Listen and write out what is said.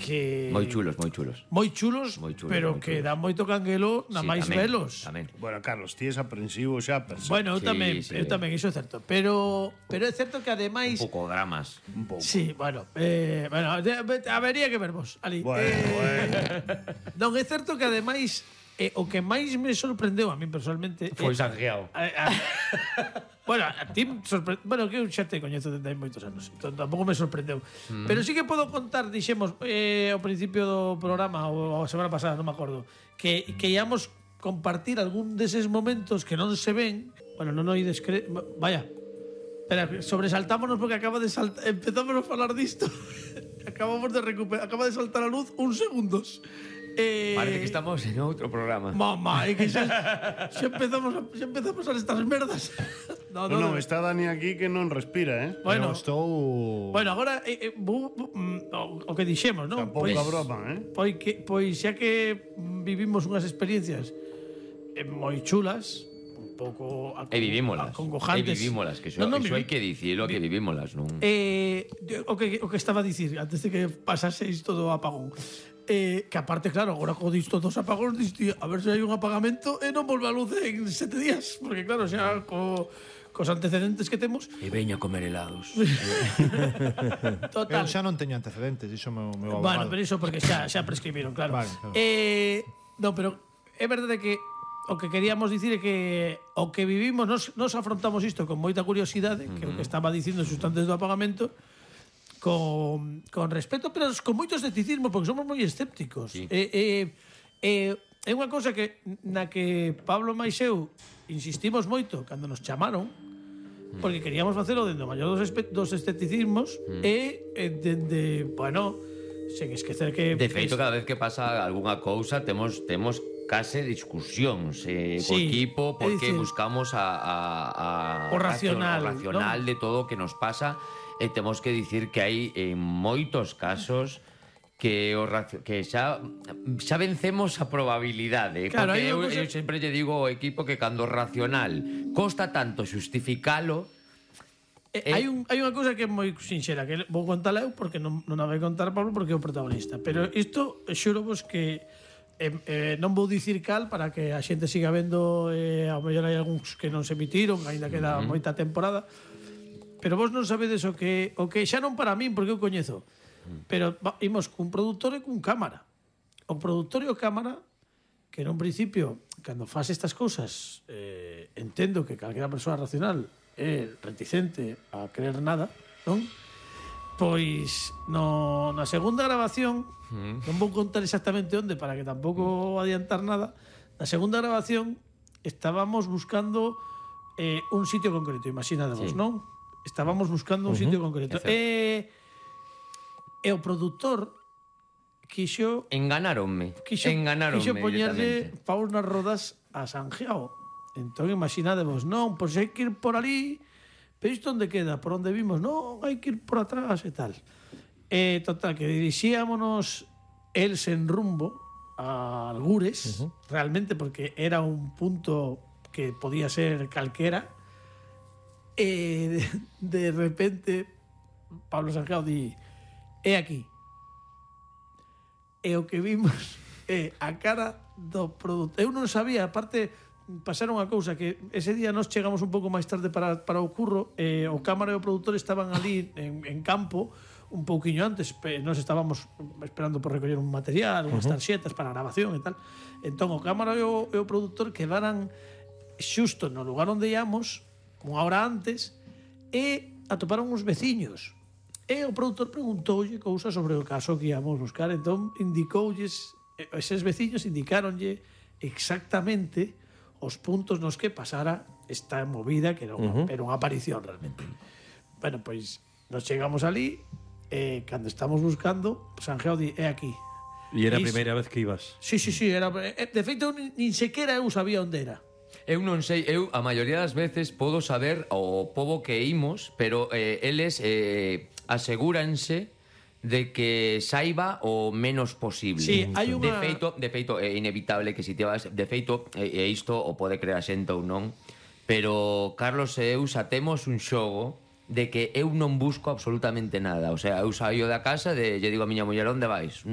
que Moi chulos, moi chulos. moi chulos, pero moi que chulos. dá moito canguelo na Sí, máis tamén, velos. tamén. Bueno, Carlos, ti es aprensivo xa, per se. Bueno, eu Sí, tamén, sí. eu tamén, iso é certo. Pero é certo que ademais Un pouco dramas. un pouco. sí, bueno, habería que ver vos ali. Bueno. Non, é certo que ademais o que máis me sorprendeu a mí personalmente Foi Sanjeao. Bueno, a ti bueno, que eu xa te coñezo desde hai moitos anos, entón tampouco me sorprendeu. Pero sí que podo contar, dixemos, ao principio do programa ou a semana pasada, non me acordo, que íamos compartir algún deses momentos que non se ven. Bueno, non oides vaya. Espera, sobresaltámonos porque acaba de saltar, empezamos a falar disto. Acabamos de recuperar, acaba de saltar a luz uns segundos. Parece que estamos en outro programa. Mamá, é que xa empezamos a estas merdas. Non, está Dani aquí que non respira, eh? Bueno, Estou... bueno, agora o que dixemos, non? Tampouco a broma, eh? Pois xa que vivimos unhas experiencias moi chulas, un pouco E vivímolas. acongojantes. Que iso Non, hai que dicilo, que vivímolas, non? O que estaba a dicir antes de que pasase isto do apagón. Que aparte, claro, agora co disto dos apagóns disto, a ver se hai un apagamento e non volve a luz en 7 días, porque claro, xa cos antecedentes que temos. E veña a comer helados. Total. Eu xa non teño antecedentes, iso meu abogado. Bueno, pero iso porque xa prescribiron, claro. Vale, claro. No, pero é verdade que o que queríamos dicir é que o que vivimos nos afrontamos isto con moita curiosidade, que é o que estaba dicindo xusto antes do apagamento, con respeto, pero con moito escepticismo, porque somos moi escépticos. Sí. É unha cousa que na que Pablo máis eu insistimos moito cando nos chamaron, porque queríamos facelo dentro do maior dos escepticismos e dende, bueno, sen esquecer que De feito, cada vez que pasa algunha cousa temos case discusións co Sí, equipo, porque é dicir, buscamos o racional, o racional de todo o que nos pasa, e temos que dicir que hai en moitos casos que xa vencemos a probabilidade, Claro, porque hai eu unha cosa- sempre lle digo ao equipo que cando o racional costa tanto xustificalo. Hai unha cousa que é moi sinxera, que vou contala eu porque non a vai contar Pablo porque é o protagonista. Pero isto, xuro vos que non vou dicir cal para que a xente siga vendo, ao mellor hai algúns que non se emitiron, aínda queda moita temporada. Pero vos non sabedes o que xa non para min, porque eu coñezo. Pero imos cun produtor e cun cámara. O produtor e o cámara, que nun principio, cando faz estas cousas, entendo que calquera persoa racional é reticente a creer nada, non? Pois na segunda grabación, non vou contar exactamente onde para que tampouco adiantar nada. Na segunda grabación estábamos buscando un sitio concreto, imaginadevos, Sí. non? Estábamos buscando un sitio concreto. E o produtor quixo Enganáronme poñerlle directamente. paus nas rodas a Sanjeao. Entón, imaginadevos, non, pois hai que ir por ali, pero isto onde queda? Por onde vimos? Non, hai que ir por atrás e tal. Total, que dirixíamonos el sen rumbo a Algures, realmente, porque era un punto que podía ser calquera. De repente, Pablo Sanjeao di, é aquí. E o que vimos é a cara do produto. Eu non sabía, aparte pasaron unha cousa que ese día nos chegamos un pouco máis tarde para o curro, o cámara e o produtor estaban ali en campo un pouquiño antes, nos estábamos esperando por recoller un material, unhas tarxetas para a grabación e tal. Entón o cámara e o produtor quedaran xusto no lugar onde íamos unha hora antes e atoparon uns veciños. E o produtor preguntoulle cousas sobre o caso que íamos buscar. Entón indicoulles, eses veciños indicáronlle exactamente os puntos nos que pasara esta movida, que era unha aparición realmente. Bueno, pois nos chegamos ali e cando estamos buscando, Sanjeao di, é aquí. E era a Iso. primeira vez que ibas. Sí, era, de feito nin sequera eu sabía onde era. Eu non sei, a maioría das veces podo saber o pobo que imos, pero eles asegúranse de que saiba o menos posible. Sí, hai unha... De feito é inevitable que si te vas, de feito e isto o pode creer a xente ou non, pero Carlos e eu xa temos un xogo de que eu non busco absolutamente nada. O sea, eu saio da casa e lle digo a miña muller, onde vais?